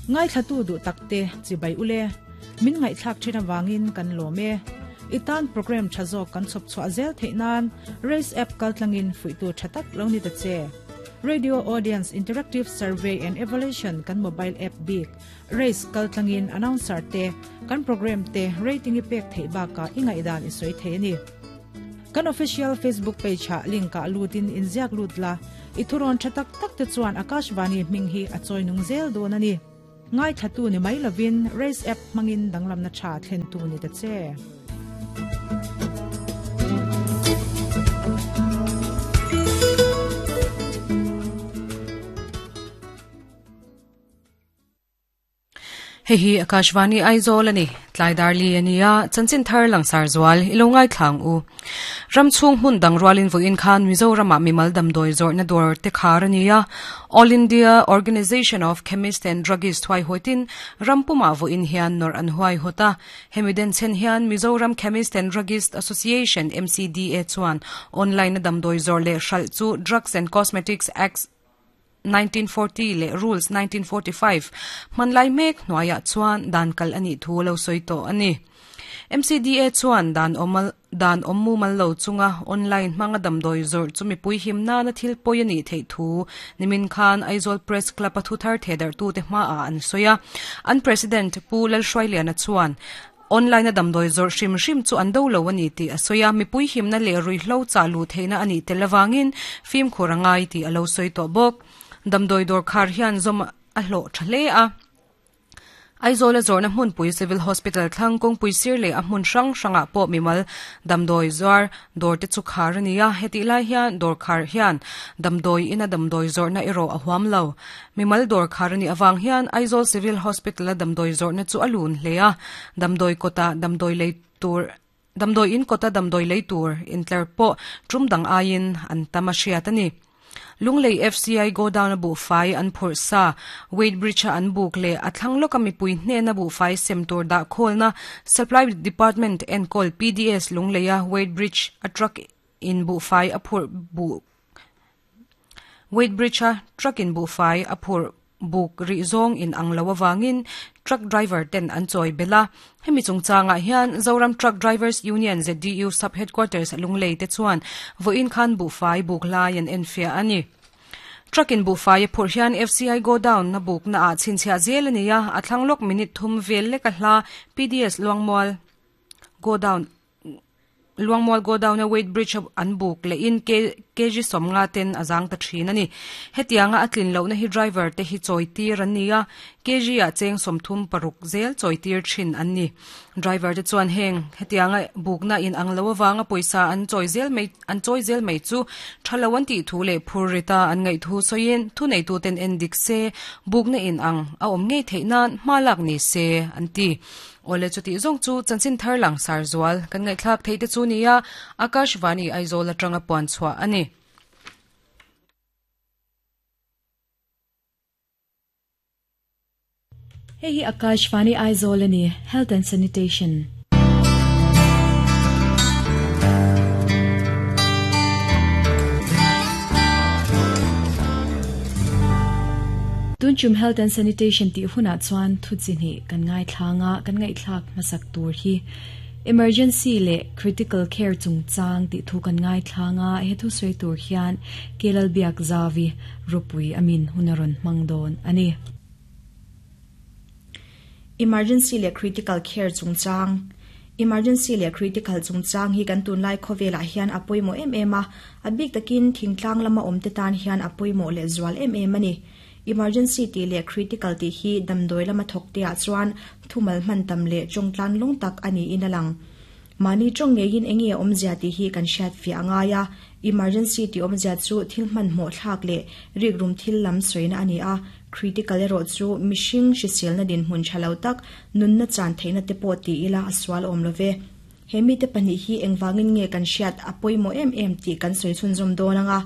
Ngaithlatu duh takte chibai ule. Min ngaihthlak thin avangin kan lawm e. I tan program tha zawk kan chhawp chhuah zel theih nan Race app kaltlangin fuihtu tha tak lo ni ta che. Radio Audience Interactive Survey and Evaluation kan mobile app bik Race kaltlangin announcer te kan program te rating i pek theih bakah i ngaihdan i sawi thei a ni. Kan official Facebook page ah link ah lutin inziak lut la, i thurawn tha tak tak te chuan Akashvani hming hi a chawi nung zel dawn a ni. Ngaithlatu ni mai lovin Race app hmangin danglamna tha thlentu ni ta che. Hei hi Akashvani Aizawl a ni. Tlai dar li a nia, chanchin thar langsar zual i lo ngaithlang u. Ram chhung hmun dang rualin vawiin khan Mizoramah mimal damdawi zawrhna dawr te khar a ni a. All India Organisation of Chemist and Druggist huaihawitin ram pumah vawiin hian nawrh an huaihawt a. Hemi denchhen hian Mizoram Chemist and Druggist Association, MCDA, chuan online-a damdawi zawrh leh hralh chu Drugs and Cosmetics Act, 1940 leh Rules 1945 hmanlai mek hnuaiah chuan dan kal a nih thu a lo sawi tawh a ni. MCDA chuan dan awm dan awm mumal lo chunga online hmanga damdawi zawrh chu mipui him nana thil pawi a nih theih thu nimin khan Aizawl Press Club a thuthar thehdarhtute hmaah an sawi a. An President Pu Lalhruailiana chuan Online a damdawi zawrh hrim hrim chu an do lo a ni tih a sawi a, mipui himna leh ruihhlo chah luh theihna a nih tel avangin fimkhur a ngai tih a lo sawi tawh bawk. Damdawi dawr khar hian zawm a hlawh tha hle a. Aizawl a zawrhna hmunpui Civil Hospital thlang kawngpui sir leh a hmun hrang hrangah pawh mimal damdawi zuar dawr te chu khar a ni a, hetih lai hian dawr khar hian damdawi ina damdawi zawrhna erawh a huam lo. Mimal dawr khar a nih avang hian Aizawl Civil Hospital-a damdawi zawrhna chu a lun hle a, damdawi kawta damdawi lei tur damdawi in kawta damdawi lei tur intlar pawh tum dang aiin an tam a hriat a ni. Lunglei FCI godown-a buhfai an phurh sa, weight bridge-a an buk leh a thlang lawka mipui hnena buhfai sem tur dah khawlna Supply Department enkawl PDS Lungleia weight bridge a truck in buhfai a phurh buh Weight bridge a truck in buhfai a phurh buk rih zawng in ang lo avangin truck driver ten an chawi belh a. Hemi chungchangah hian Zoram Truck Drivers Union, ZDU, Sub Headquarters Lunglei te chuan vawiin khan buhfai buk lai an enfiah a ni. Truck in buhfai a phurh hian FCI godown a bukna ah chhinchhiah zel a ni a, a thlang lawk minute thum vel lek a hla PDS Luangmual godown Luangmual godown a weight bridge a an buk leh in kg sawmnga ten a zang ta thin a ni. Hetianga a tlin lohna hi driver te hi chawi tir an ni a, kg ah cheng 36 zel chawi tir thin an ni. Driver te chuan heng hetianga bukna in ang lo avanga pawisa an chawi zel mai an chawi zel mai chu tha lo an tih thu leh phur rita an ngaih thu sawiin thuneitu ten en dik se bukna in ang a awm ngei theih nan hma lak ni se an ti. Awle chutih zawng chu chanchin thar langsar zual kan ngaihthlak theih te chu nia Akashvani Aizawl atanga puan chhuah a ni. Hei hi Akashvani Aizawl a ni, Health and Sanitation. Tunchum Health and Sanitation tih hunah chuan thu chi hnih kan ngaithlang a, kan ngaihthlak hmasak tur hi Emergency leh Critical Care chungchang tih thu kan ngaithlang a, he thu sawi tur hian Kelalbiak Zavi ropui a min hun a rawn hmang dawn a ni. Emergency leh Critical Care chungchang Emergency leh Critical chungchang hi kan tunlai khawvelah hian a pawimawh em em a, a bik takin thingtlang lama awmte tan hian a pawimawh leh zual em em a ni. Emergency tih leh Critical tih hi damdawi lama thawkteah chuan thumal hman tam leh tawngtlan lawng tak a niin a lang. Mahni tawng ngeiin eng nge awmzia tih hi kan hriat fiah a ngai a, emergency tih awmzia chu thil hmanhmawh thlak leh rikrum thil lam sawina a ni a, critical erawh chu mihring hriselna dinhmun tha lo tak, nunna chan theihna te pawh ti ila a sual awm lo ve. He mite pahnih hi engvangin nge kan hriat a pawimawh em em tih kan sawi chhunzawm dawn ang a.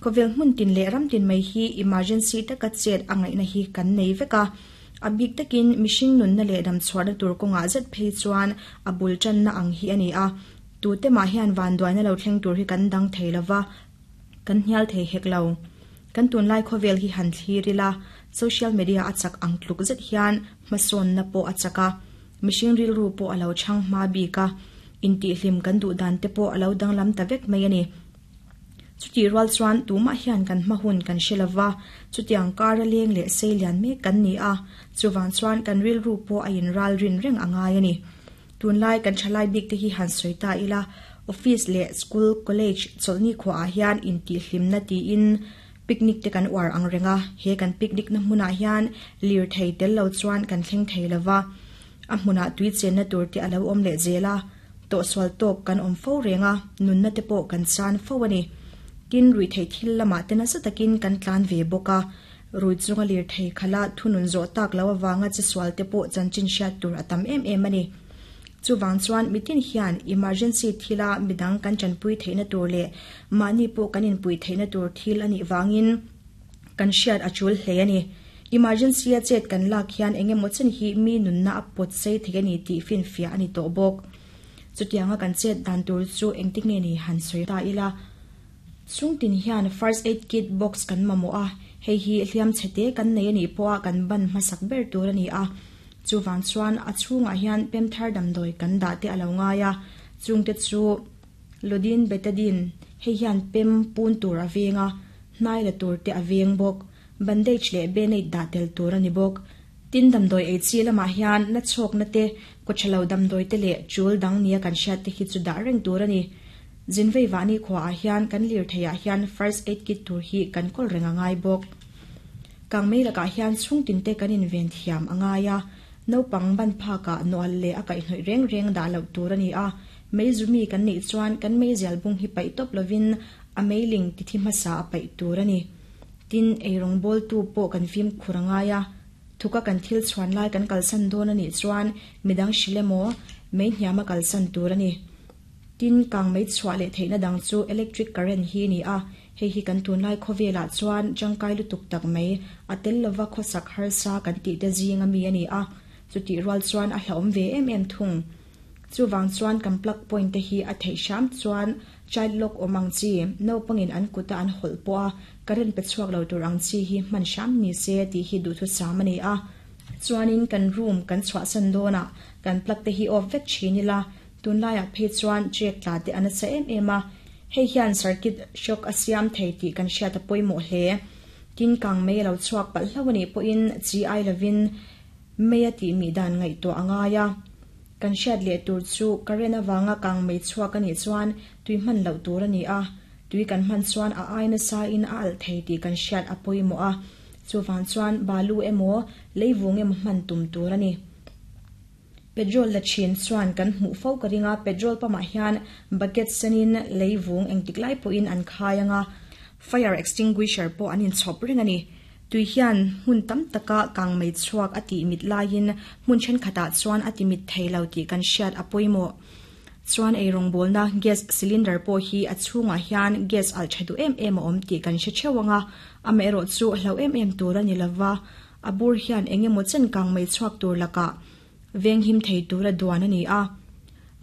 Khawvel hmun tin leh ram tin mai hi emergency taka chet a ngaihna hi kan nei vek a. A bik takin mihring nunna leh damchhuahna tur kawngah zet phei chuan a bul tanna ang hi a ni a. Tute mah hian vanduaina lo thleng tur hi kan dang thei lo va, kan hnial thei hek lo. Kan tunlai khawvel hi han thlir ila. Social media a chak ang tluk zet hian hmasawnna pawh a chak a, mihring rilru pawh a lo chhang hma bik a, intihhlim kan duh dan te pawh a lo danglam ta vek mai a ni. Chutih rual chuan tumah hian kan hma hun kan hre lova, chutiang kara leng leh sei lian mek kan ni a, chuvang chuan kan rilru pawh a inral rin reng a ngai a ni. Tunlai kan thalai bik te hi han sawi ta ila, office leh school, college chawlhni khuaah hian intihhlimna tiin picnic te kan uar ang reng a, he kan picnic na hmunah hian lirthei tel lo chuan kan thleng thei lova, a hmunah tui chenna tur te a lo awm leh zel a, tawhsual tawk kan awm fo reng a, nunna te pawh kan chan fo a ni. Tin, ruihtheih thil lamah te nasa takin kan tlan ve bawk a, rui chunga lirthei khala thunun zawh tak lo avanga chesual te pawh chanchin hriat tur a tam em em a ni. Chuvang chuan mitin hian emergency thila midang kan tanpui theihna tur leh mahni pawh kan inpuih theihna tur thil a nih vangin kan hriat a tul hle a ni. Emergency a chet kan lak hian eng emaw chen hi mi nunna a pawt sei thei a ni tih finfiah a ni tawh bawk. Chutianga kan chet dan tur chu engtik nge ni han sawi ta ila. Chungtin hian first aid kit box kan mamawh a, hei hi hliam chhete kan nei a nih pawha kan ban hmasak ber tur a ni a. Chuvang chuan a chhungah hian pemthar damdawi kan dah te a lo ngai a, chungte chu Lodin Betadine, hei hian pem pun tur a veng a, hnai la tur te a veng bawk, bandage leh band-aid dah tel tur a ni bawk. Tin damdawi ei chi lamah hian na chhawkna te, kawthalo damdawi te leh chul dang nia kan hriat te hi chu dah reng tur a ni. Zinvei vahni khuaah hian kan lirtheiah hian first aid kit tur hi kan kawl reng a ngai bawk. Kangmei lakah hian chhungtinte kan inven thiam a ngai a, naupang ban phakah nual leh a kaihhnawih reng reng dah loh tur a ni a, mei zumi kan neih chuan kan meizial bung hi paih tawp lovin a meiling tithi hmasa a paih tur a ni. Tin, eirawngbawltu pawh kan fimkhur a ngai a, thuka kan thil chhuan lai kan kalsan dawn a nih chuan midang hrilh emaw mei hniama kalsan tur a ni. Tin, kangmei chhuah leh theihna dang chu electric current hi a ni a, hei hi kan tunlai khawvelah chuan tangkai lutuk tak mai, a tel lova khawsak harsa kan tih te zing ami a ni a, chutih rual chuan a hlauhawm ve em em thung. Chuvang chuan kan plug point te hi a theih hram chuan child lock awm ang chi, naupangin an kuta an hawlh pawh a current pe chhuak lo tur ang chi hi hman hram ni se tih hi duhthusam a ni a. Chuanin kan room kan chhuahsan dawnah kan plug te hi off vek thin ila, Tunlaiah phei chuan check tla te a nasa em em a, hei hian circuit shock a siam thei tih kan hriat a pawimawh hle. Tin kang mei a lo chhuak palh hlauh a nih pawhin chi ai lovin mei a tih mih dan ngaihtuah a ngai a. Kan hriat leh tur chu current avanga kang mei chhuak a nih chuan tui hman loh tur a ni a, tui kan hman chuan a ai nasa in a alh thei tih kan hriat a pawimawh a, chuvang chuan balu emaw leivung emaw hman tum tur a ni. Petrol la thin chuan kan hmuh fo ka ring a, petrol pump ah hian bucket senin lei vung engtik lai pawhin an khai ang a, fire extinguisher pawh an inchhawp reng a ni. Tui hian hmun tam taka kangmei chhuak a tih mit laiin hmun thenkhatah chuan a ti mit thei lo tih kan hriat a pawimawh. Chuan eirawngbawlna gas cylinder pawh hi a chhungah hian gas alh tha duh em em a awm tih kan hre theuh ang a, amaherawhchu hlauh em em tur a ni lova, A bur hian eng emaw chen kang mai chhuak tur lakah veng him thei tura duan a ni a.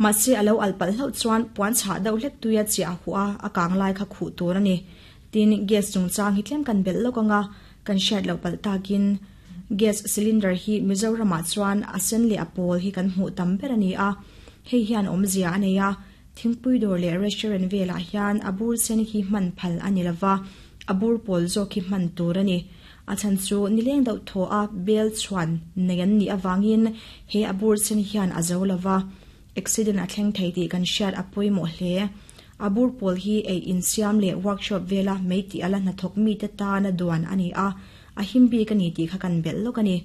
Mahse a lo alh palh hlauh chuan puan chhah deuh hlek tuia chiah a huh a, a kang lai kha khuh tur a ni. Tin, gas chungchang hi tlem kan belh lawk ang a, kan hriat loh palh takin gas cylinder hi Mizoramah chuan a sen leh a pawl hi kan hmuh tam ber a ni a, hei hian awmzia a nei a, Thingpui dawr leh restaurant velah hian a bur sen hi hman phal a ni lova, a bur pawl zawk hi hman tur a ni. A chhan chu nileng deuh thaw a bel chhuan nei an nih avangin he a bur sen hian a zo lova, accident a thleng thei tih kan hriat a pawimawh hle. A bur pawl hi ei insiam leh workshop vela mei tih ala hnathawk mite tana duan a ni a, a him bik a ni tih kha kan belh lawk a ni.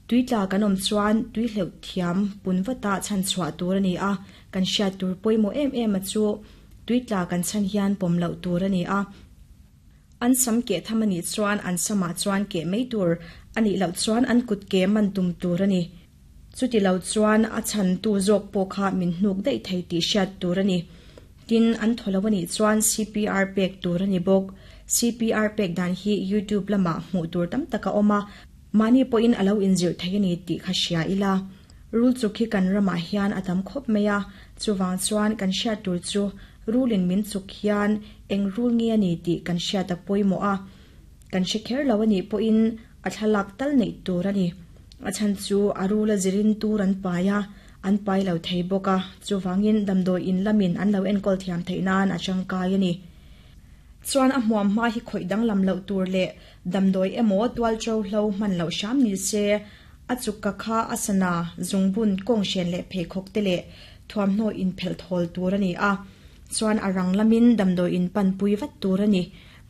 Tui tla kan awm chuan tui hleuh thiam pun vata chhan chhuah tur a ni a, kan hriat tur pawimawh em em a chu tui tla kan chhan hian pawm loh tur a ni a. An sam keh tham a nih chuan an samah chuan keh mai tur a nih loh chuan an kut ke man tum tur a ni. Chuti lo chuan a chhantu zawk pawh kha min hnuk daih thei tih hriat tur a ni. Tin, an thaw lo a nih chuan CPR pek tur a ni bawk. CPR pek dan hi YouTube lamah hmuh tur tam tak a awm a, Mahni pawhin a lo inzirh thei a ni tih kha hria ila. Rul chuk hi kan ramah hian a tam khawp mai a, chuvang chuan kan hriat tur chu rulin min chuk hian eng rul nge a ni tih kan hriat a pawimawh a. Kan hre kher lo a nih pawhin A thlalak tal neih tur a ni. A chhan chu a rul a zirin tur an pai a, an pai lo thei bawk a, chuvangin damdawi in lamin an lo enkawl thiam theih nan a tangkai a ni. Chuan a hmuam hma hi khawih danglam loh tur leh damdawi emaw tualṭo hlo hman loh hram ni se, a chukka kha a sana, zungbun, kawnghren leh pheikhawk te leh thuamhnaw inphelh thawl tur a ni a, chuan a rang lamin damdawi in panpui vat tur a ni.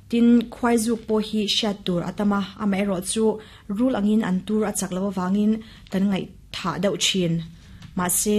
Tin, khuaizuk pawh hi hriat tur a tam a, amaherawhchu rul angin an tur a chak loh avangin kan ngaihthah deuh thin. Mahse.